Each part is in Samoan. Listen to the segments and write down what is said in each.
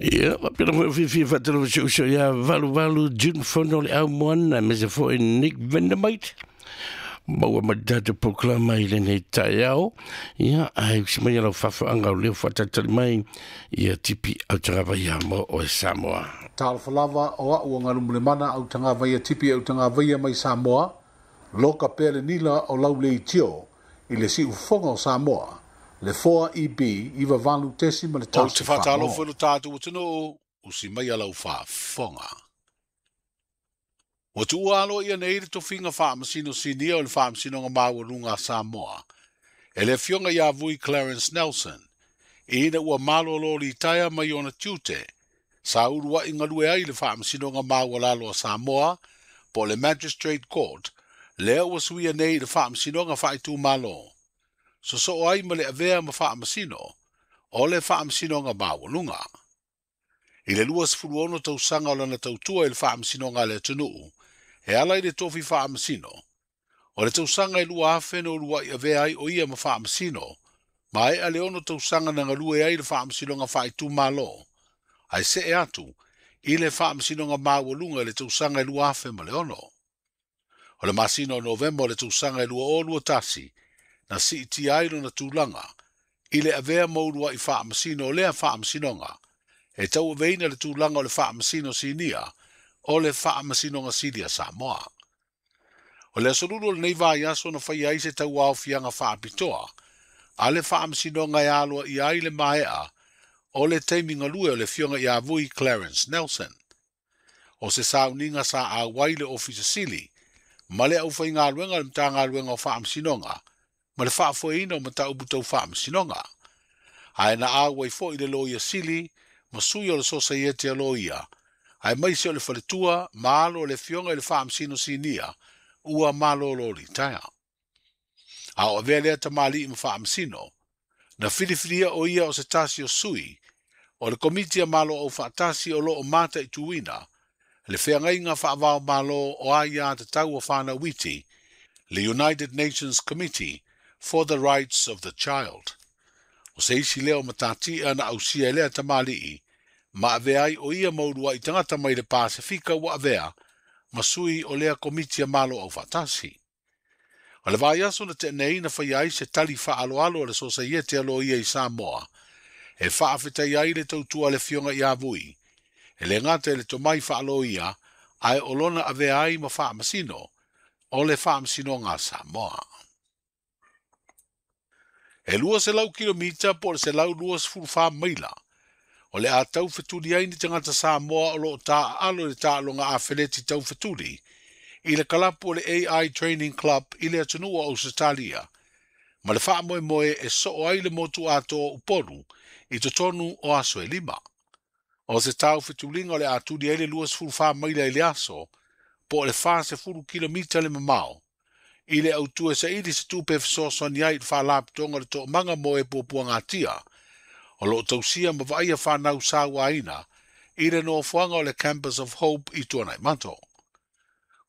Ia, faapena foi fiafia faatalofa si ou uso ia Valuvalu June Fono le Aumoana, aemaise foi Nick Vandermite. Maua mai le tatou polokalama i lenei taeao. Ia, ae usi mai lau faafaaga o leo faatalitali mai ia Tipi Autagavaia mo oe Samoa. Talofa lava o au o Galumulemana Autagavaia Tipi Autagavaia mai Samoa, loka pea le nila o lau leitio i le siufofoga o Samoa, le 4EB 98.1. Ou te faatalofa i lo tatou atunuu, usi mai lau faafofoga. Ua tuua aloaia nei le tofiga faamasino sinia o le Faamasinoga Maualuga a Samoa e le Afioga ia Vui Clarence Nelson, ina ua malolo litaea mai ona tiute sa uluai galue ai le Faamasinoga Maualalo a Samoa po o le Magistrate Court, lea ua suia nei i le Faamasinoga Faaitumalo, sosoo ai ma le avea ma faamasino o le Faamasinoga Maualuga. I le 26 tausaga o lana tautua i le Faamasinoga a le atunuu, e ala i le tofi faamasino, o le tausaga e 2000 na uluai avea ai o ia ma faamasino, maea le 6 tausaga na galue ai le Faamasinoga Faaitumalo, ae see atu i le Faamasinoga Maualuga i le tausaga e 2006. O le masina o Novema o le tausaga e 2021, na siitia ai lona tulaga i le avea ma uluai faamasino o lea faamasinoga, e tauaveina le tulaga o le faamasino sinia o le Faamasinoga Sili a Samoa. O le aso Lulu o lenei vaiaso na faia ai se tauaofiaga faapitoa a le Faamasinoga e aloaia ai le maea o le taimi galue o le Afioga ia Vui Clarence Nelson. O se sauniga sa auai le Ofisa Sili ma le aufaigaluega o le Matagaluega o Faamasinoga ma le faafoeina o mataupu tau faamasinoga. Ae na auai foi le Loia Sili ma sui o le Sosaiete a Loia, aemaise o le faletua ma alo o le Afioga i le Faamasino Sinia ua malolo litaea. A o avea lea tamalii ma faamasino, na filifilia o ia o se tasi o sui o le Komiti a Malo Aufaatasi o loo mataituina le feagaiga faavao malo o aia tatau o whanau iti, le United Nations Committee for the Rights of the Child. O se isi lea o matatia na ausia e lea tamalii, ma avea ai o ia mauluai tagata mai le Pasifika ua avea ma sui o lea Komiti a Malo Aufaatasi. O le vaiaso na tenei na faia ai se tali faaloalo a le Sosaiete a Loia i Samoa, e faafetai ai le tautua le Afioga ia Vui, e le gata i le tomai faaloia, ae o lona avea ai ma faamasino o le Faamasinoga a Samoa. E 200 kilomita po o le 124 maila, o le a taufetuli ai ni tagata Samoa o loo taaalo i le taaloga afeleti taufetuli i le kalapu o le AI Training Club i le atunuu o Ausetalia, ma le faamoemoe e soo ai le motu atoa o Upolu i totonu o aso e 5. O se taufetuliga o le a tuli ai le 24 maila i le aso, po o le 40 kilomita le mamao, i le autu e saili se tupe fesoasoani ai i le faalapotopotoga o le toomaga mo e puapuagatia, o loo tausia ma vaaia fanau sauaina i le nofoaga o le Campus of Hope i Tuanaimato.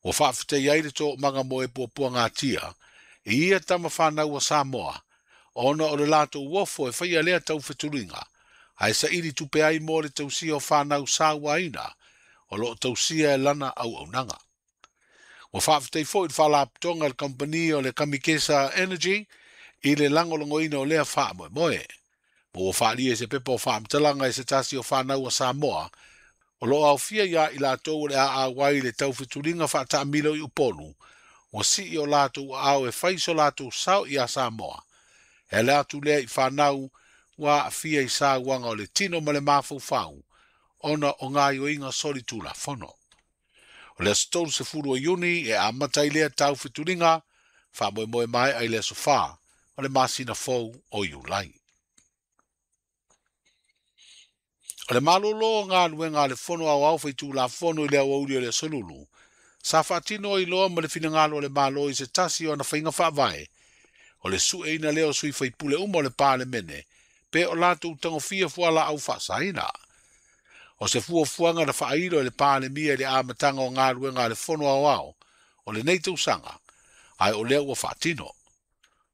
Ua faafetai ai le toomaga mo e puapuagatia i ia tama fanau a Samoa, ona o le latou ofo e faia lea taufetuliga, ae saili tupe ai mo le tausia o fanau sauaina o loo tausia e lana auaunaga. Ua faafetai foi le faalapotopotoga i le kamupani o le Kamikesa Energy i le lagolagoina o lea faamoemoe. Ma ua faalia i se pepa o faamatalaga e se tasi o fanau a Samoa, o loo aofia ia i latou o le a auai i le taufetuliga faataamilo i Upolu, ua sii o latou aao e fai so latou sao ia Samoa. E ala atu lea i fanau ua aafia i sauaga o le tino ma le mafaufau, ona o gaoioiga solitulafono. O le aso 30 o Iuni e amata ai lea taufetuliga, faamoemoe maea i le aso 4 o le masina fou o Iulai. O le malolo o galuega a le Fono Aoao Faitulafono i le aoauli o le aso Lulu, sa faatino ai loa ma le finagalo o le Malo i se tasi o ana faiga faavae, o le sueina lea o sui faipule uma o le Palemene, pe o latou tagofia fualaau faasaina. O se fuafuaga na faailo e le Palemia i le amataga o galuega a le Fono Aoao o lenei tausaga, ae o lea ua faatino.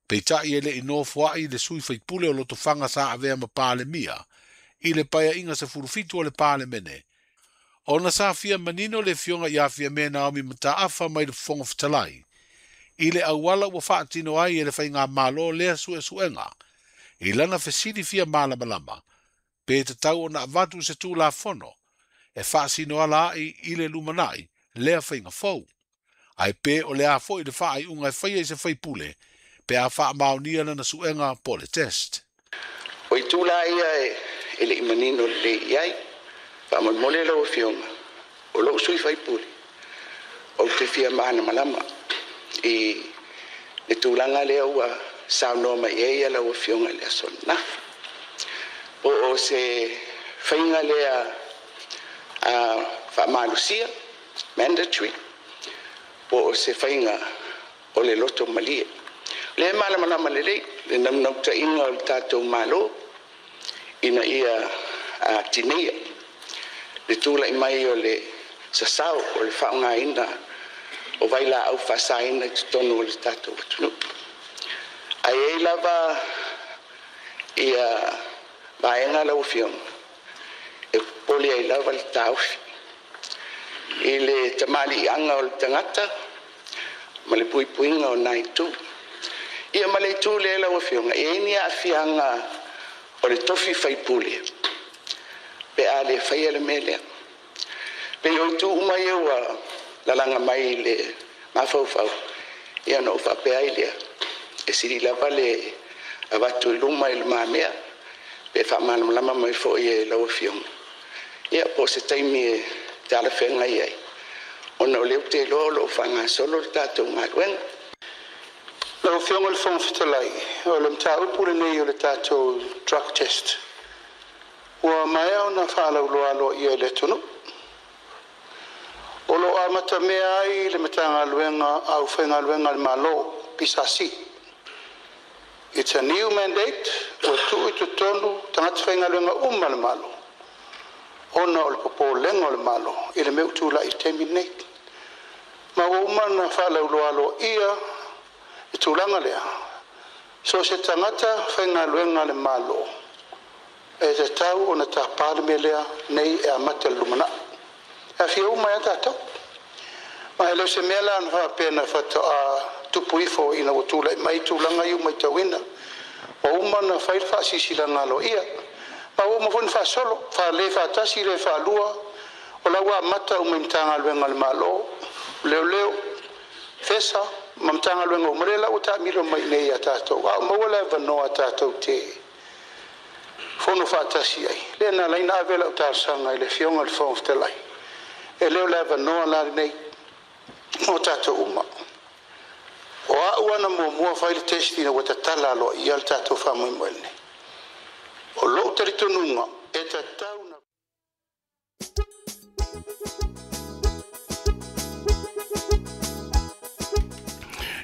Peitai e le i nofoai le sui faipule o Lotofaga sa avea ma Palemia I le paeaiga 17 o le Palemene. Ona sa fia manino le afioga ia Fiame Naomi Mataafa mai le Fofoga Fetalai i le auala ua faatino ai e le faigamalo lea suesuega i lana fesili fia malamalama pe tatau ona avatu se Tulafono e faasino ala ai i le lumanai lea faiga fou. Ae pe o le a foi le faaiuga e faia i se faipule pe a faamaonia lana suega po o le test. O itu la ia e le i manino lelei i ai. Faamolemole lau Afioga, o lou sui faipule, ou te fia malamalama i le tulaga lea ua saunoa mai ai lau Afioga i le aso ananafi. Po o se faiga lea faamalosia, mandatory, po o se faiga o le loto malie. O lea e malamalama lelei le naunautaiga o le tatou Malo ina ia tineia le tulai mai o le sasao o le faaaogaina o vailaau faasaina i totonu o le tatou atunuu. Ae i ai lava ia vaega lau Afioga e popole ai lava le taofi i le tamaliiaga o le tagata ma le puipuiga o nai itu. Ia ma le itu lea lau Afioga, e i ai ni aafiaga o le tofi faipule pe a le faia le mea lea. Pei o itu uma ia ua lalaga mai i le mafaufau, ia ona ou faapea ai lea, e sili lava le avatu i luma i le mamea, pe faamalamalama mai foi e lau Afioga. Ia po o se taimi e talafeagai ai, ona o lea ou te iloa o lo o faagasolo le tatou galuega. Lau Afioga i le Fofoga Fetalai, o le mataupu lenei o le tatou drug test, ua maea ona faalauloa aloaia i le atunuu. O lo o amatamea ai le Matagaluega Aufaigaluega a le Malo, PSC. It's a new mandate ua tuu i totonu tagata faigaluega uma a le Malo, ona o le popolega o le Malo i le mea ua tulai i le taimi lenei. Ma ua uma ona faalauloa aloaia le tulaga lea, so o se tagata faigaluega a le Malo e tatau ona tapa le mea lea nei e amata i le lumanai. E aafia uma ai lava tatou. Ma e le o se mea la na faapea na faatoa tupu ifo ina ua tulai mai tulaga ia ua matauina. Ua uma ona fai le faasilasilaga aloaia. Ma ua uma foi ona faasolo, faale faatasi le faalua, o la ua amata uma i Matagaluega a le Malo, Leoleo, FESA ma Matagaluega uma lea la ua taamilo mai i inei ia tatou. A o maua le avanoa tatou te fono faatasi ai, lea na ala ai ona ave lau talosaga i le Afioga i le Fofoga Fetalai, e le o le avanoa la lenei mo tatou uma. O au ana muamua fai le test ina ua tatala aloaia le tatou faamoemoe lenei. O lou talitonuga e tatau na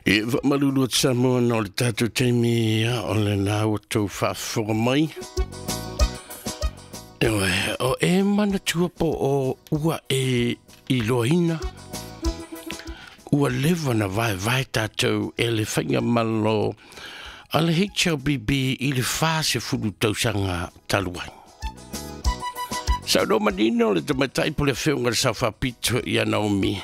E faamalulu atu Samoa ona o le tatou taimi o lena ua tou faafofoga mai. Eoe, o e manatua po o ua e iloaina ua leva na vaevae tatou e le faigamalo a le HLBB i le 40 tausaga talu ai. Saunoa manino le tamaitai po le afioga i le Sao Faapito ia Naomi.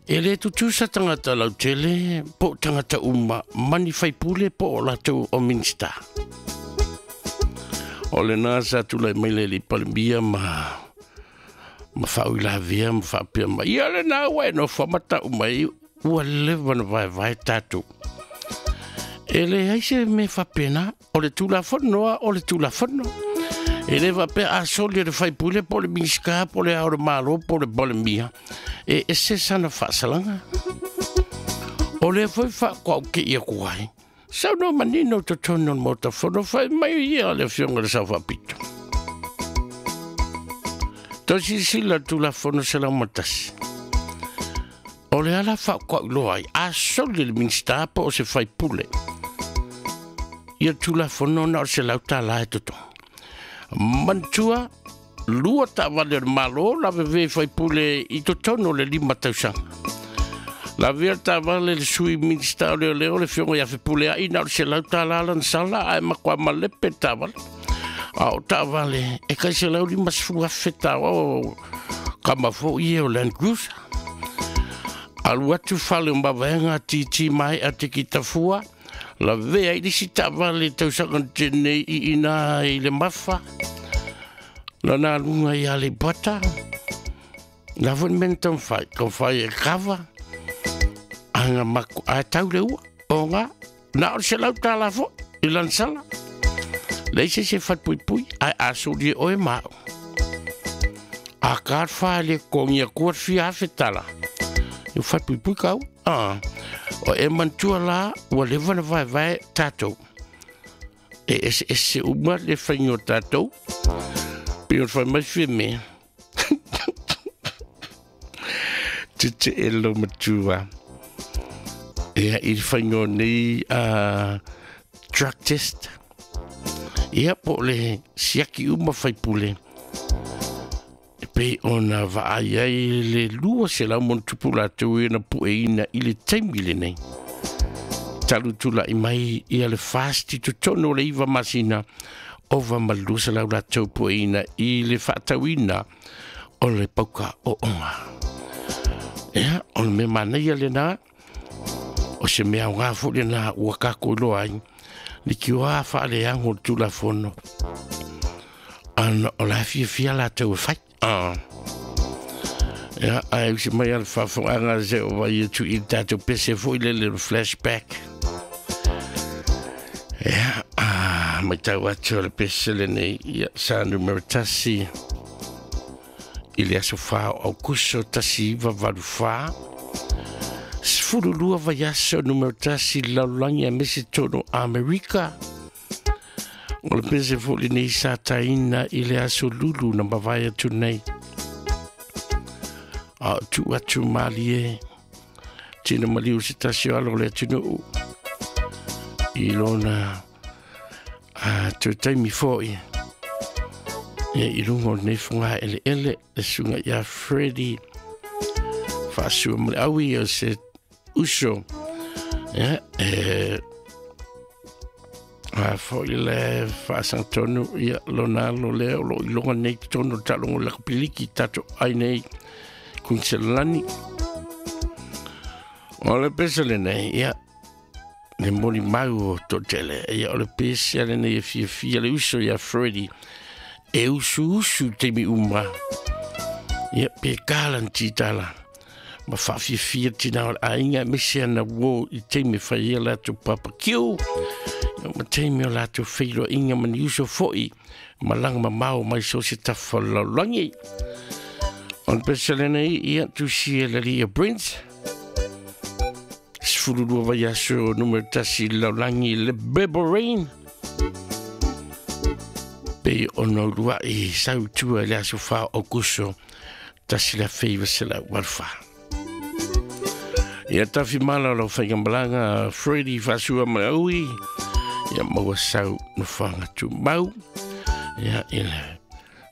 E le tutusa tagata lautele po o tagata uma ma ni faipule po o latou o Minista. O lena sa tulai mai le alii Palemia ma ma faauilavea ma faapea mai, ia lena ua e nofo ma tau mai ua leva na vaevae tatou. E leai se mea faapena, o le Tulafono a o le Tulafono. E le faapea a soli e le faipule po o le Minisita po o le Ao o le Malo po o le Palemia, e ese sana faasalaga. O lea foi faatoaukei atu ai, saunoa manino i totonu o le Maota Fono, fai mai ia le Afioga i le Sao Faapito. Toe silasila le Tulafono 101. O le ala faatoauiloa ai, a soli le Minisita po o se faipule, ia Tulafono na o le $100 e totogi. Manatua, lua taavale a le Malo lavevea i faipule i totonu o le 5 tausaga. Lavea le taavale le Sui Minisita o Leoleo le Afioga ia Fepuleai na o le $100 lana sala ae matua malepe le taavale. A o taavale e kai 150,000 tala kama fo'i e o Land Cruiser. Alu atu fale o mavaega titi mai a te kitafua, la vea i lisi taavale tausaga na tenei i ina i le mafa, la nā lunga i ale pata, la foi men taumafai, taumafai e kava, anga maku, a tau le ua, o ngā, na o le $100 foi, i lansala. Leai se se falepuipui, ae a soli e oe ma au. A ka wha le kongi a kua fia afe tala. I falepuipui kau. Ah. O e mantua la, ua leva na vae vae tātou. E ese ese uma le whainga o tātou. Pe o whai mai whia me. Tete e lo matua. Ia i whainga o nei drug test. Ia po le siaki uma whaipule. E pei ona vaai ai le 200 ma ono tupu latou e na pueina i le taimi lenei. Talu tula'i mai ia le FAST i totonu o le 9 masina, ova ma le 200 latou pueina i le faatauina o le pauka ooga. Ia, o le mea manaia lenā, o se mea aoga foi lenā ua tatou iloa ai, le tioā faaleago o le Tulafono, ana o la fiafia latou e fai. Ah. Ia, ae usi mai a le faafogaaga se o vai atu i le tatou pese foi le le flashback. Ia, ah, matau atu o le pese lenei, ia, sa numero 1 i le aso 4 o Aukuso 1984. 12 vaiaso numero 1 i le lalolagi aemaise tonu Amerika. O le pese foi lenei sa taina i le aso lulu na mavae atu nei. A o tuu atu malie, tina maliu se tasi o alo o le atunuu i lona a toe taimi foi. Ia i lunga o lenei foga eleele, le susuga ia Freddie Faasua ma le aui o se uso. Ia, e a foi le faasagtonu ia lona alo lea o loo iloga nei totonu o le taaloga o le lakapiliki tatou ai nei Kuiniselani. O le pese lenei, ia, le molimau o toatele, ia o le pese lenei e fiafia le uso ia Freddie, e usuusu i taimi uma, ia pe kala na titala, ma faafiafia tina o le aiga aemaise ana uō i taimi e fai ai a latou barbecue, ia ma taimi o latou feiloaiga ma ni uso foi malaga mamao mai so o se tafa o le lalolagi. O le pese lenei, ia tusi e le alii ia Brent, 12 vaiaso numero 1 i le lalolagi le Bebo Rain, pei ona uluai sau i tua i le aso 4 o Aukuso 1984. Ia tafi mala o lau faigamalaga Freddie Faasua ma le aui, ia maua sau nofoaga tumau, ia i le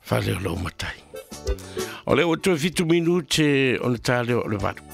fale o lou matai. O lea ua toe 7 minute ona ta lea o le 8.